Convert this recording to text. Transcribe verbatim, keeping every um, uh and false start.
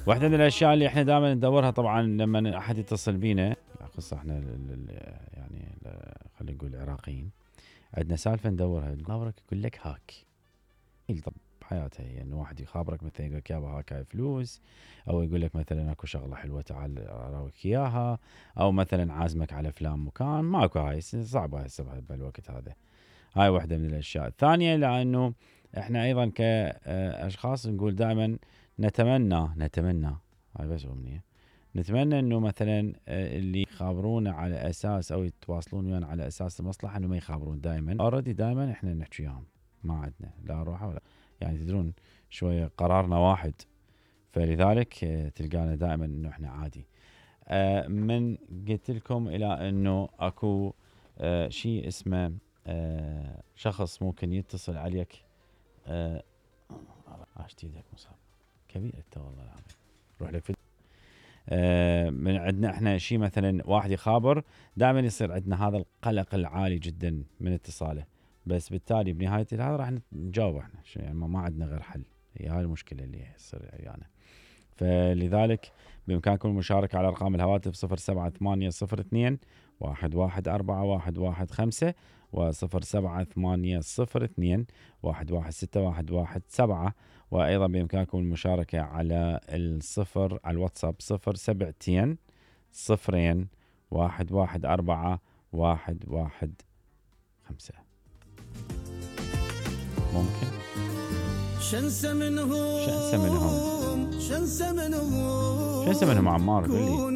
واحدة من الأشياء اللي إحنا دائما ندورها طبعا لما أحد يتصل بينا، خاصة إحنا يعني خلينا نقول العراقيين، عندنا سالفة ندورها، خابرك يقول لك هاك. طب بحياتها هي إنه واحد يخابرك مثلا يقول لك يابا هاك هاي فلوس، أو يقول لك مثلا أكو شغلة حلوة تعال أراويك إياها، أو مثلا عازمك على فلان مكان. ماكو، هاي صعبة هاي السبب بالوقت هذا. هاي واحدة من الأشياء الثانية، لأنه إحنا أيضا كأشخاص نقول دائما نتمنى نتمنى هاي بس أمنية، نتمنى إنه مثلا اللي يخابرونا على أساس أو يتواصلون ويانا على أساس المصلحة إنه ما يخابرون دائما. أوردي دائما إحنا نحكي وياهم، ما عندنا لا روحة ولا يعني تدرون شوية قرارنا واحد، فلذلك تلقانا دائما إنه إحنا عادي. من قلت لكم إلى إنه أكو شيء اسمه شخص ممكن يتصل عليك. عاشت يدك مصاب كبير انت والله العظيم، روح لك في آه من عندنا احنا شيء مثلا واحد يخابر، دائما يصير عندنا هذا القلق العالي جدا من اتصاله، بس بالتالي بنهايه هذا راح نجاوب احنا يعني ما عندنا غير حل. هي هاي المشكله اللي تصير يعني. فلذلك بامكانكم المشاركه على ارقام الهواتف صفر سبعة ثمانية صفر اثنين واحد واحد أربعة واحد واحد خمسة وصفر سبعة ثمانية صفر اثنين واحد واحد ستة واحد واحد سبعة، وأيضا بإمكانكم المشاركة على الصفر على الواتساب صفر سبعتين صفرين واحد واحد أربعة واحد واحد خمسة. ممكن شنسة منهم شنسة منهم شنسة منهم شنسة منهم عمار قولي